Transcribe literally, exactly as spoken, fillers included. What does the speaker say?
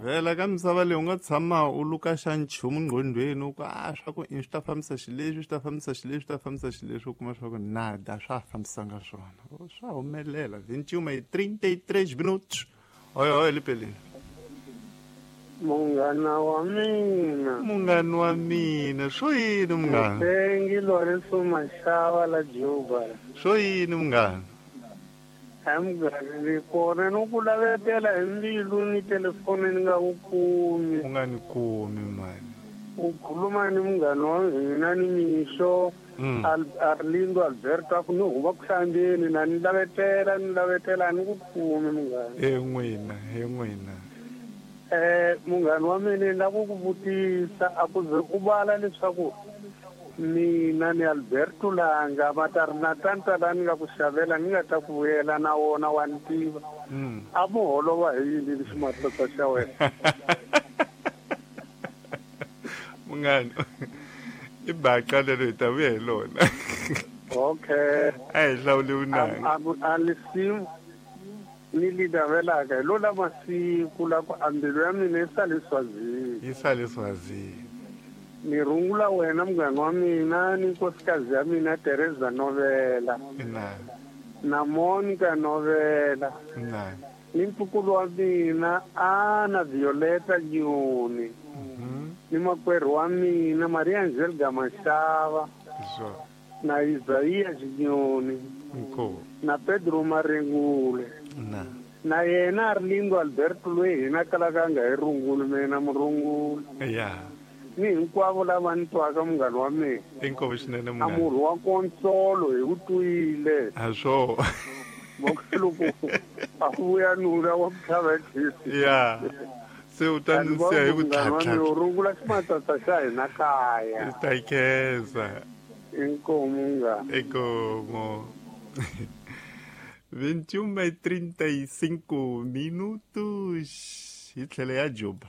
Vhela ka misava leyi u nga tshama u luka xa nchumu nqondweni u ku a swa ku i swi ta fambisa xileswi swi ta fambisa xileswi swi ta fambisa xileswi u kuma swa ku nada swa fambisanga swona swa humelela vinte e uma e trinta e três minutos oi oi lipelini munghana wa mina munghana wa mina swo yini munghana Mutengi Lorenzo Mashava la Juba swo yini munghana a munghana ni kona no ku lavetela hi mbilu ni telefoni ni nga ku kumi u nga ni kumi mani u khuluma ni munghana wa hina ni mixo Mm. Al- Arlindo Alberto a ku ni huma ku hlambeni na ni lavetela ni lavetela a ni ku kumi munghana e n'wina e n'wina eh munghana wa mina ni lava ku ku vutisa a ku ze u vala leswaku mina ni Alberto Langa matari na tanta la ni nga ku xavela ni nga ta ku vuyela na wona wa ni tiva Mm. a mu holova hi yini lexi matsatsa xa wena munghana i baca lero hi ta vuya hi lona okay a hi hlawuli vunanga a a lisimu ni li navelaka hi lo la masiku la ku a mbilu ya mina yi sale Swazini yi sale Swazini ni rungula wena munghana wa mina ni nkosikazi ya mina Teresa Novela ina na Monica Novela ina ni ntukulu wa mina Ana Violeta Nyoni Mhm. ni makwerhu wa mina Maria Angelica Mashava hi swona na Isaia Xinyoni inkomu na Pedro Marengule na na yena Arlindo Alberto loyi hina kalaka a nga hi runguli mina murungula ya ni hinkwavo lava ni twaka munghana wa mina inkomu swinene a munghana murhi wa konsolo hi wu twile a swo loko a vuya nuna wa ku tlhava hi ya se u ta ni siya hi ku munghana wa mina tlhatlha u rungula ximatsatsa xa hina kaya ta khensa inkomu munghana inkomu vinte e uma e trinta e cinco minutos hi tlhelo ya Juba